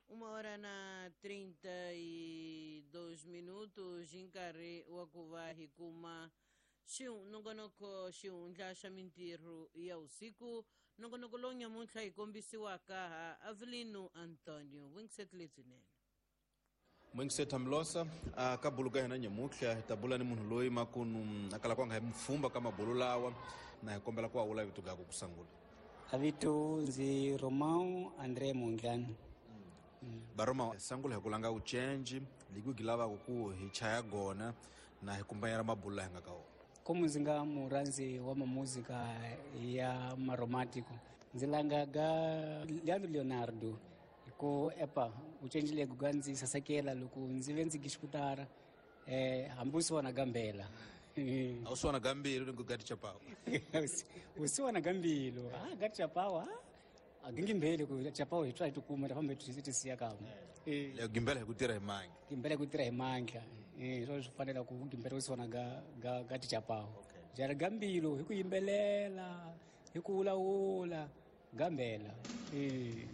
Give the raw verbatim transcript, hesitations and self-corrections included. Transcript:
Uma hora na trinta e dois minutos hi nkarhi wa ku va hi kuma nongonoko xihundla xa mintirho ya vusiku, nongonoko lowu nyamuntlha hi kombisiwaka ha Avelino Antonio. Vuyingiseti lebyinene. Mwingiseta Mlosa a ka bulu ka hina nyamuntlha hi ta bula ni munhu loyi makunu a kalaka nga hi mfumba ka mabulu lawa, na hi kombela ku awula vito gaku ku sungula. A vito ndzi Romão André Mondlane. Baroma sangula hi ku langa uchenji liku lavaka ku hi chaya gona na hi kumbanyela mabulu laha hi nga ka wona. Como ndzi nga murhandzi wa mamuzika ya maromantiko, ndzi langa ga Leandro Leonardo ku epa uchenji legu ga ndzi sasekela loko ndzi ve ndzi gixikutara eh hambi u siwana gambela. A u siwana gambilo ni ku gati chapawa. U siwana gambilo ah gati chapawa a gingimbele ku chapawa hi try to kuma ta fambe ti ti siya ka. Eh le gimbela hi ku tirha hi mandla. Gimbela ku tirha hi mandla. Eh swo swi fanela ku gimbela u siwana ga ga gati chapawa. Jara gambilo hi ku yimbelela hi ku wulawula gambela. Eh